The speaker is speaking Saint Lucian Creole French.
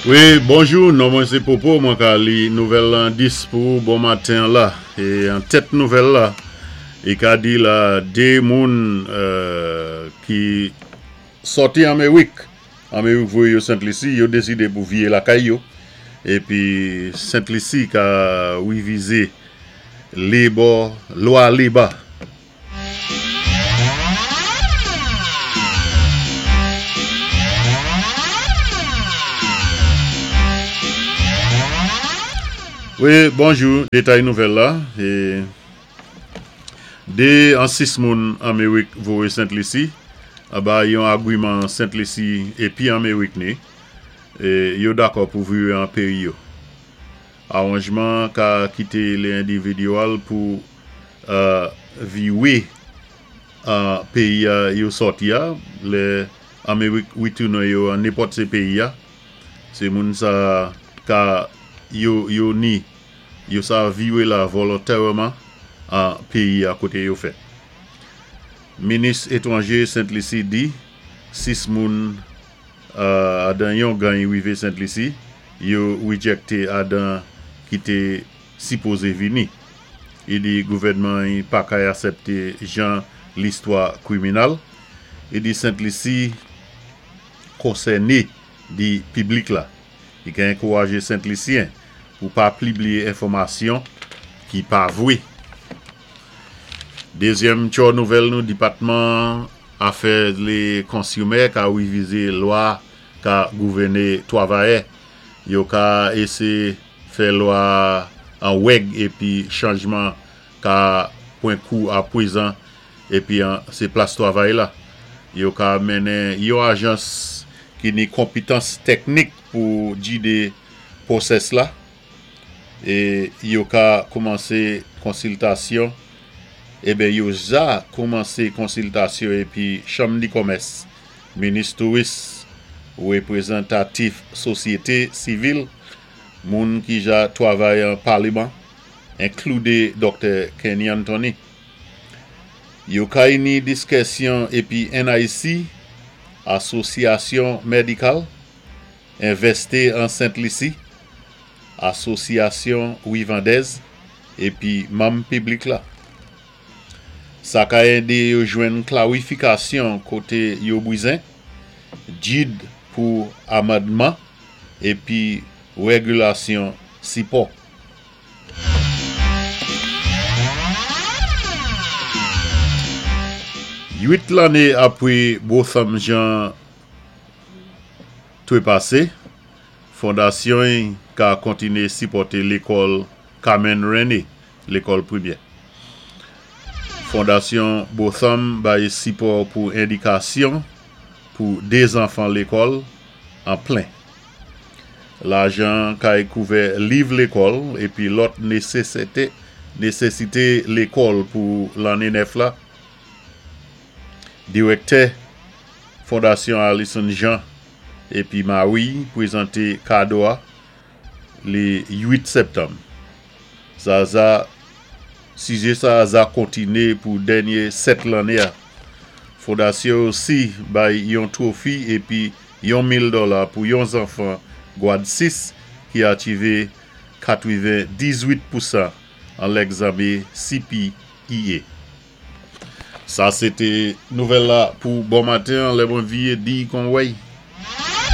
Wi, bonjou, non mwen sé Popo, mwen ka li nouvèl lan 10 pou ou bon maten an la. É an tèt nouvèl la, i ka di la 2 moun ki sòti Amerik, Amerik voyé yo Sent Lisi, yo désidé pou viyé lakay yo, épi Sent Lisi ka wivizé labor, lwa leba. Wi, bonjou, detay nouvèl la, e 2 an 6 moun Amerik voye Sent Lisi anba yon agwiman Sent Lisi epi Amerik ni, e yo dakò pou vire an peyi yo. Awanjman an ka kite le endividyal pou viwe an peyi a yo sòti a, lè Amerik retounen yo an nenpòt se peyi a, se moun sa ka yo yo ni yo sa viwe la volontèreman an peyi a kote yo fèt. Minis etwanje Sent Lisi di 6 moun adan yon gany rive Sent Lisi, yo rejecte adan ki te sipoze vini. I di gouvènman i pa kay asèpte jan listwa kriminal. I di Sent Lisi konsène di piblik la. I ka enkouraje Sent Lisyen pou pa plibliye enfòmasyon ki pa vwe. Dezyèm tchò nouvèl nou depatman afè le konsimè ka revize lwa ka gouvène twavayè. Yo ka ese fè lwa an wèg epi chanjman ka pwen kou a pwezan epi an se plas twavay la. Yo ka mennen yon ajans ki ni konpitans tèknik pou gide pwosès la e yo ka koumanse konsiltasyon eben yo ja koumanse konsiltasyon epi chanm di kòmès, minis touris, reprezantatif sosyete sivil, moun ki ja twavay an paleman, enklude Doktè Kenny Anthony. Yo ka ini diskèsyon epi NIC, Asosyasyon Medikal, Envèste an Sent Lisi, Asosyasyon Wivandèz, epi manm piblik la. Sa ka ede yo jwenn klarifikasyon kote yo bwizen, gid pou amandman, epi regilasyon sipò. 8 lanne apre Botham Jean trepase, fondasyon y ka kontine sipòte lekòl Carmen Rennie, lekòl primè. Fondasyon Botham bay sipò pou edikasyon pou 2 zanfan lekòl an plen. Lajan kay kouvè liv lekòl epi lòt nesesite lekòl pou lanne nèf la. Direktè Fondasyon Alison Jean epi mari prezante kado a le 8 septanm. Zaza Sijè sa a za kontine pou dènye 7 lanne a. Fondasyon osi bay yon twofi epi yon 1000 dola pou yon zanfan gwad 6 ki achive 98 pousan an lègzame CPEA. Sa se te nouvèl la pou bon maten an lè mwen viye di kon wèy.